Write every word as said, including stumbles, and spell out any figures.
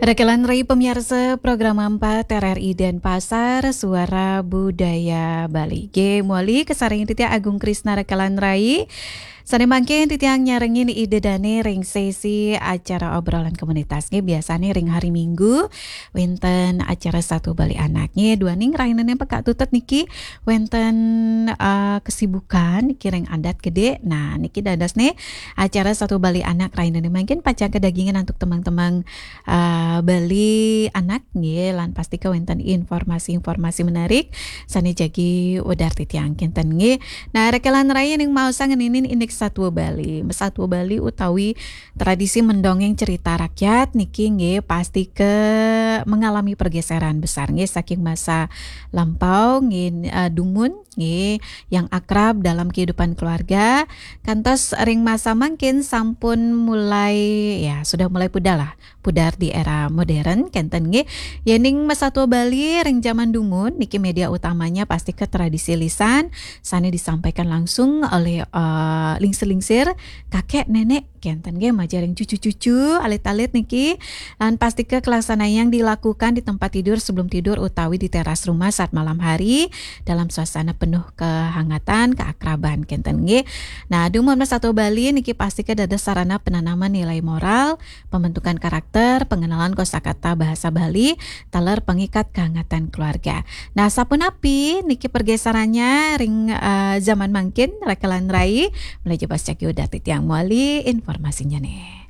Rekelan Rai pamiarsa program empat R R I Denpasar, Suara Budaya Bali. Nggih, mawali kasarengin titiang Agung Krisna Rekelan Rai. Sané mangkin titiang nyarengin Ida Dané ring sesi acara obrolan komunitas. Nggih, biasané ring hari Minggu wénten acara Satwa Bali Anak. Nggih, duaning rahinane pekak tutut niki wénten, eh, kesibukan niki ring adat gedé. Nah, niki dadosné acara Satwa Bali Anak rahinane mangkin pacang kadagingan antuk temang-temang, eh, Bali Anak nggih, lan pastika wénten informasi-informasi menarik sané jagi wedar titiang kénten nggih. Nah, Rekelan Rai ning maosang ngeninin indik satwa Bali. Satwa Bali utawi tradisi mendongeng cerita rakyat niki nggih pastika mengalami pergeseran besar nggih saking masa lampau nggih, eh, dumun nggih yang akrab dalam kehidupan keluarga kantos ring masa mangkin sampun mulai, ya, sudah mulai pudar lah, pudar di era modern kénten nggih. Yéning masatwa Bali ring jaman dumun niki media utamanya pastika tradisi lisan sané disampaikan langsung oleh, eh, lingsir-lingsir kakek nenek kénten nggih, majeng ring cucu-cucu, alit-alit niki. Lan pastika kalaksanayang dilakukan di tempat tidur, sebelum tidur utawi di teras rumah saat malam hari dalam suasana penuh kehangatan, keakraban kénten nggih. Nah, dumun masatwa Bali niki pastika dados sarana penanaman nilai moral, pembentukan karakter, pengenalan kosakata bahasa Bali, taler pengikat kehangatan keluarga. Nah, sapunapi niki pergeserannya ring, eh, zaman mangkin, Rekelan Rai? Malih jebos jagi wedar titiang mawali informasinya nih.